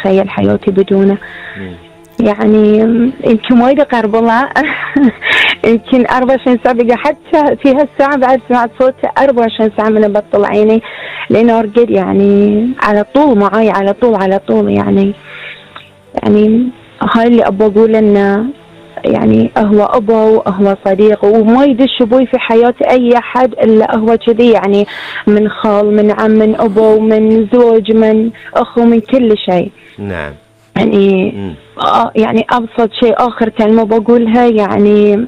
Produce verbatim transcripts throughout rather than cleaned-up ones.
أتخيل حياتي بدونه. يعني يمكن وايد أقرب والله. يمكن أربعة وعشرين ساعة بقى، حتى في هالساعة بعد سمعت صوته أربعة وعشرين ساعة من بطل عيني لأنه أرقد يعني على طول معاي، على طول على طول يعني. يعني هاي اللي أبغى أقول إنه يعني هو أبا وهو صديق، وما يدش أبوي في حياة أي أحد إلا هو كذي، يعني من خال، من عم، من أبا، ومن زوج، من أخو، من كل شيء. نعم. يعني آه يعني أبسط شيء آخر كلمة بقولها، يعني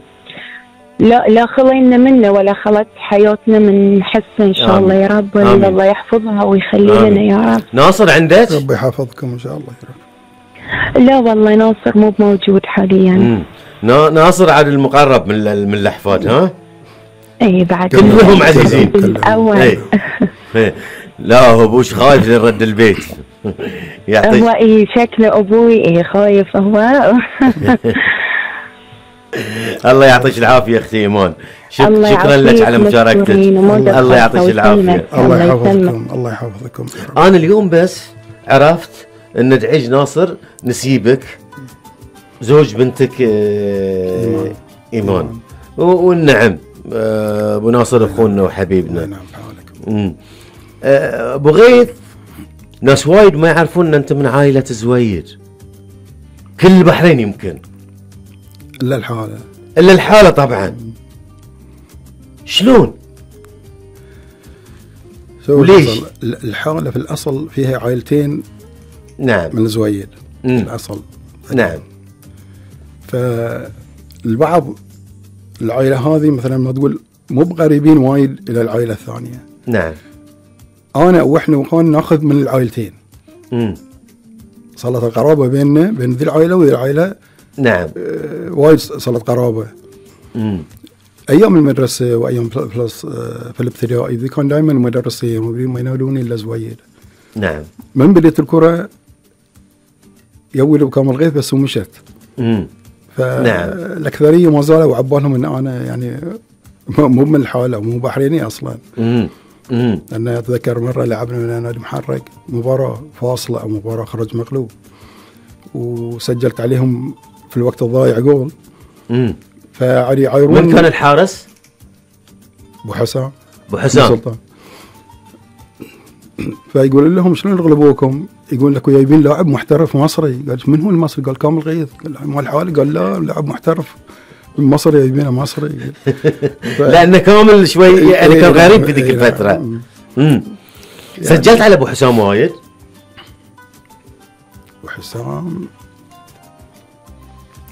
لا لا خلينا منه ولا خلت حياتنا من حسن إن شاء الله يا رب. الله يحفظها ويخلي لنا يا رب. ناصر عندك؟ رب يحفظكم إن شاء الله يا رب. لا والله ناصر مو موجود حاليا. مم. ناصر عاد المقرب من من الأحفاد ها؟ اي بعد كلهم عزيزين. الأول. اي لا هو ابوش خايف لرد البيت. يعطيك هو اي شكله ابوي اي خايف هو. الله يعطيك العافيه اختي ايمان. شكرا لك على مشاركتك. الله يعطيك العافيه. الله يحفظكم. الله يحفظكم. انا اليوم بس عرفت ان تعيش ناصر نسيبك زوج بنتك ايمان, إيمان. والنعم ابو ناصر اخونا وحبيبنا. نعم حالك. ابو غيث ناس وايد ما يعرفون ان انت من عائله زويد. كل البحرين يمكن الا الحاله الا الحاله طبعا. شلون وليش؟ الحاله في الاصل فيها عائلتين. نعم. من زويد في الاصل. نعم. فالبعض العائله هذه مثلا ما تقول مو بقريبين وايد الى العائله الثانيه. نعم. انا واحنا واخواننا ناخذ من العائلتين. امم صارت القرابه بيننا بين ذي العائله وذي العائله. نعم. آه وايد صارت قرابه. امم ايام المدرسه وايام بلس آه في الابتدائي ذي كان دائما مدرسين ما ينادوني الا زويد. نعم. من بديت الكره يولوا بكامل غيث بس ومشت. امم فالاكثريه ما زالوا عبالهم ان انا يعني مو من الحاله مو بحريني اصلا. امم امم انا اتذكر مره لعبنا من نادي محرق مباراه فاصله او مباراه خرج مغلوب وسجلت عليهم في الوقت الضايع جول. امم فعلي عيرون. من كان الحارس؟ ابو حسام. ابو حسام سلطان. فيقول لهم شلون يغلبوكم؟ يقول لك جايبين لاعب محترف مصري. قال من هو المصري؟ قال كامل غيث. قال مال حالي. قال لا لاعب محترف مصري جايبينه مصري. ف... لأنه كامل شوي يعني كان غريب في ذيك الفترة. امم يعني سجلت على ابو حسام وايد؟ ابو حسام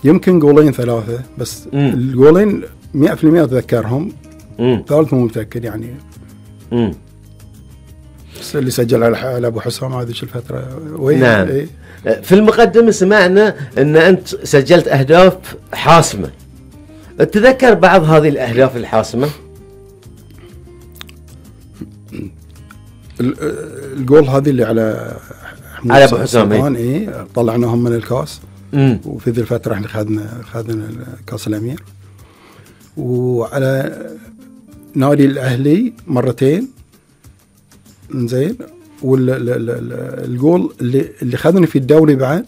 يمكن جولين ثلاثة بس. مم. الجولين مئة بالمئة اتذكرهم. ثالث مو متأكد يعني. امم بس اللي سجل على ابو حسام هذه الفترة. نعم. إيه؟ في المقدمة سمعنا ان انت سجلت اهداف حاسمة. تتذكر بعض هذه الاهداف الحاسمة؟ الجول هذه اللي على على ابو حسام ايه طلعناهم من الكاس. مم. وفي ذي الفترة احنا خذنا خذنا كاس الامير. وعلى نادي الاهلي مرتين زين. والجول اللي اللي خذني في الدوري بعد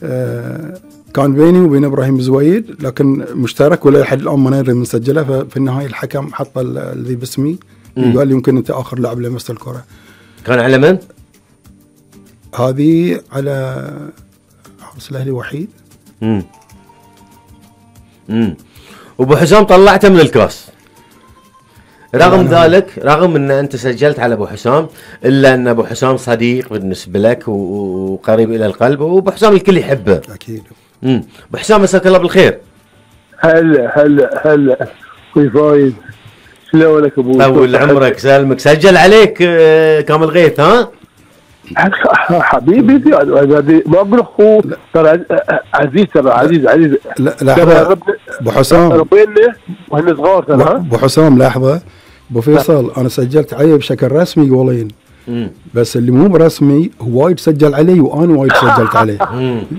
آه كان بيني وبين ابراهيم زويد لكن مشترك ولا لحد الان ما ندري من سجله. ففي النهايه الحكم حط الذي باسمي وقال يمكن انت اخر لاعب لمست الكره. كان على من؟ هذه على حارس الاهلي وحيد. امم امم وابو حسام طلعته من الكاس. رغم ذلك رغم ان انت سجلت على ابو حسام الا ان ابو حسام صديق بالنسبه لك وقريب الى القلب وابو حسام الكل يحبه. اكيد. امم ابو حسام مساك الله بالخير. هلا هلا هلا اخوي فايز شلونك ابوي؟ طول عمرك سلمك. سجل عليك كامل غيث ها؟ حبيبي ما اقول اخوه ترى عزيز ترى عزيز عزيز. لا لحظه ابو حسام ربينا واحنا صغار ترى. ابو حسام لحظه ابو فيصل انا سجلت عليه بشكل رسمي جولين بس اللي مو برسمي هو وايد سجل علي وانا وايد سجلت عليه.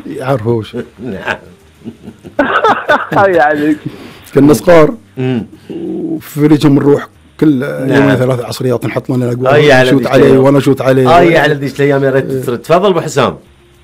يعرفوش. نعم. يعني كنا صغار وفريقهم نروح كل يومين ثلاث عصريات نحط لنا الاجواء. نشوت عليه وانا اشوت عليه. اي على ذيك الايام يا ريت تسرد. تفضل ابو حسام.